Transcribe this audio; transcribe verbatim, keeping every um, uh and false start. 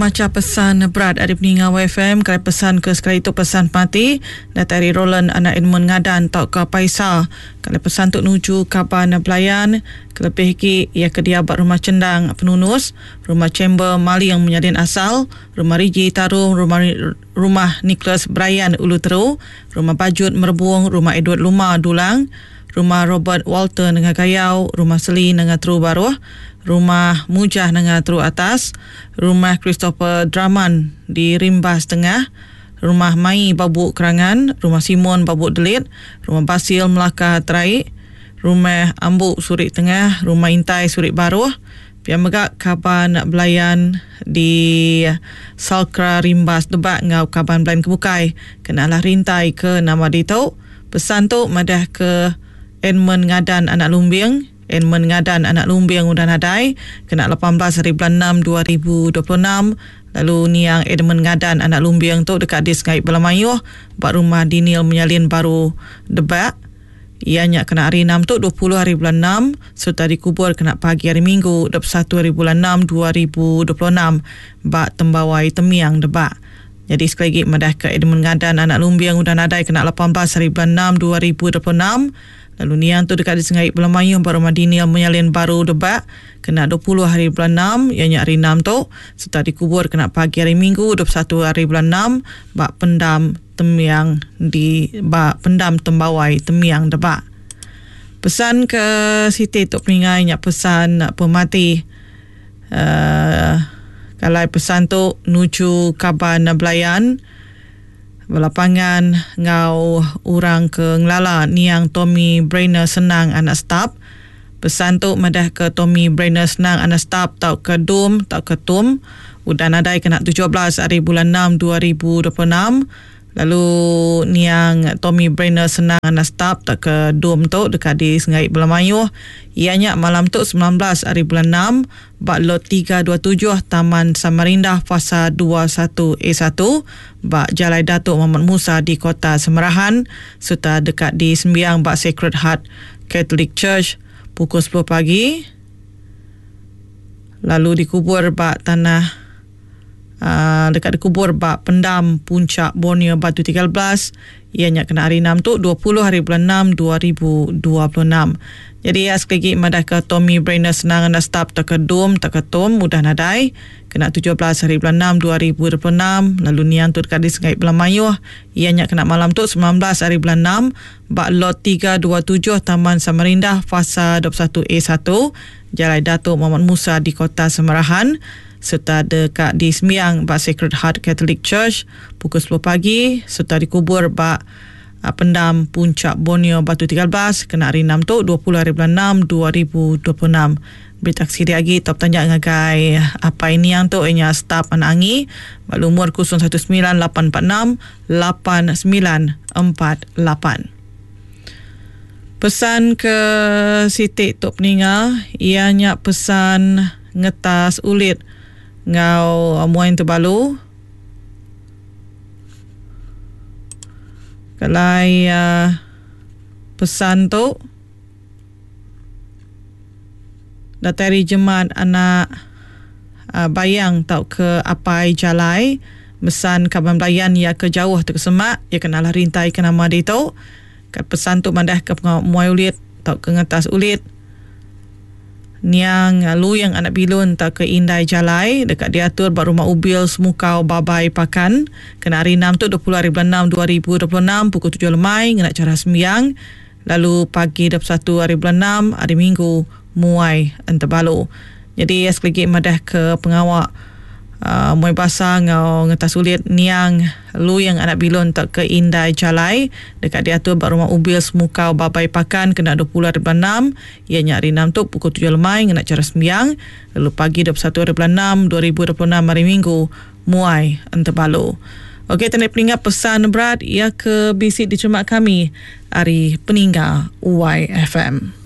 Macha pesan berat ari peninga Y F M kali pesan ke sekali tu, pesan pemati datai ari Roland anak Edmund Ngadan tauka Paisa. Kali pesan tu nuju kaban belayan kelebih agi iya ke diau ba Rumah Chendang Penunus, Rumah Chamber Maling Menyadin Asal, Rumah Riji Tarung, Rumah Rumah Nicholas Brian Ulu Teru, Rumah Bajut Merebung, Rumah Edward Luma Dulang, Rumah Robert Walter Nengah Gayau, Rumah Seli Nengah Teru Baruh, Rumah Mujah Nengah Teru Atas, Rumah Christopher Draman di Rimbas Tengah, Rumah Mai Babu Kerangan, Rumah Simon Babu Delit, Rumah Basil Melaka Terai, Rumah Ambu Surik Tengah, Rumah Intai Surik Baruh, pia mega kaban belayan di Salkra Rimbas Debak ngau kaban belayan kebukai kenalah rintai ke nama ditu. Pesan tu madah ke Edmund Ngadan anak Lumbing. Edmund Ngadan anak Lumbing udah nadai kena lapan belas hari bulan enam dua ribu dua puluh enam. Lalu niang Edmund Ngadan anak Lumbing tu dekat di Sengai Belamayuh ba Rumah Daniel Menyalin Baru Debak. Iya nya kena hari enam tu, dua puluh hari bulan enam, serta dikubur kena pagi hari Minggu dua puluh satu hari bulan enam dua ribu dua puluh enam ba Tembawai Temiang Debak. Jadi sekali lagi madah ke Edmund Ngadan anak Lumbing udah nadai kena lapan belas hari bulan enam dua ribu dua puluh enam. Lalu niang tu dekat di Sengai Belamayuh ba Rumah Daniel Menyalin Baru Debak kena dua puluh hari bulan enam, iya nya hari enam tu, serta dikubur kena pagi hari Minggu dua puluh satu hari bulan enam ba Pendam Temiang di ba Pendam Tembawai Temiang Debak. Pesan ke siti tu peningai nya pesan pemati. Uh, kalau pesan tu nuju kaban belayan belapangan ngau orang ke ngelala niang Tommy Brainer Senang anak Stap. Pesan tu madah ke Tommy Brainer Senang anak Stap tau ke Dum tau ke Tum udah nadai kena tujuh belas hari bulan enam dua ribu dua puluh enam. Lalu niang Tommy Brainer Senang anak Stap tak ke Dum tu dekat di Sengai Belamayuh. Ianya malam tu sembilan belas hari bulan enam ba lot tiga dua tujuh Taman Samarindah Fasa dua puluh satu A satu ba Jalai Datuk Muhammad Musa di Kota Semerahan, serta dekat di Sembiang ba Sacred Heart Catholic Church pukul sepuluh pagi. Lalu dikubur ba tanah uh, dekat dikubur ba Pendam Puncak Borneo Batu tiga belas, ianya kena hari enam tu, dua puluh hari bulan enam dua ribu dua puluh enam. Jadi ya, sekali lagi madah ke Tommy Brainer Senang anda stop tak ke Dum tak ke Tom udah nadai kena tujuh belas hari bulan enam dua ribu dua puluh enam. Lalu niang tu dekat di Sengai Belamayuh, ianya kena malam tu sembilan belas hari bulan enam ba lot tiga dua tujuh Taman Samarindah Fasa dua puluh satu A satu Jalai Datuk Muhammad Musa di Kota Semerahan, serta dekat di Sembiang ba Sacred Heart Catholic Church pukul sepuluh pagi, serta dikubur ba uh, Pendam Puncak Borneo Batu tiga belas kena hari enam tu, dua puluh hari bulan enam dua ribu dua puluh enam. Berita siri lagi top tanya ngagai apa ini yang tu ianya staf anak angi ba lumur kosong satu sembilan lapan empat enam lapan sembilan empat lapan. Pesan ke siti tok peninga ianya pesan ngetas ulit ngau muai terbalu. Kalai uh, pesan tu datai ari Jemat anak uh, Bayang tau ke Apai Jalai, mesan kaban belayan ya ke jauh terkesemak ya kenalah rintai ke nama dia tu. Kat pesan tu madah ke pengawa muai ulit tau ke ngetas ulit niang Luyang anak Bilun tau ke Indai Jalai dekat diatur ba Rumah Ubil Semukau Babai Pakan kena hari enam tu, dua puluh hari bulan enam dua ribu dua puluh enam pukul tujuh lemai ngena cara sembiang, lalu pagi dua puluh satu hari bulan enam hari Minggu muai entebalu. Jadi sekali lagi madah ke pengawa uh, muai basa ngau ngetas ulit niang Luyang anak Bilun tak ke Indai Jalai dekat diatur ba Rumah Ubil Semukau Babai Pakan kena dua puluh hari bulan enam, ianya hari enam tu pukul tujuh lemai ngena cara sembiang, lalu pagi dua puluh satu hari bulan enam dua ribu dua puluh enam hari Minggu muai entebalu. Okey, tanda peninggal pesan berat ia ke bisik dicermat kami hari peninggal Y F M.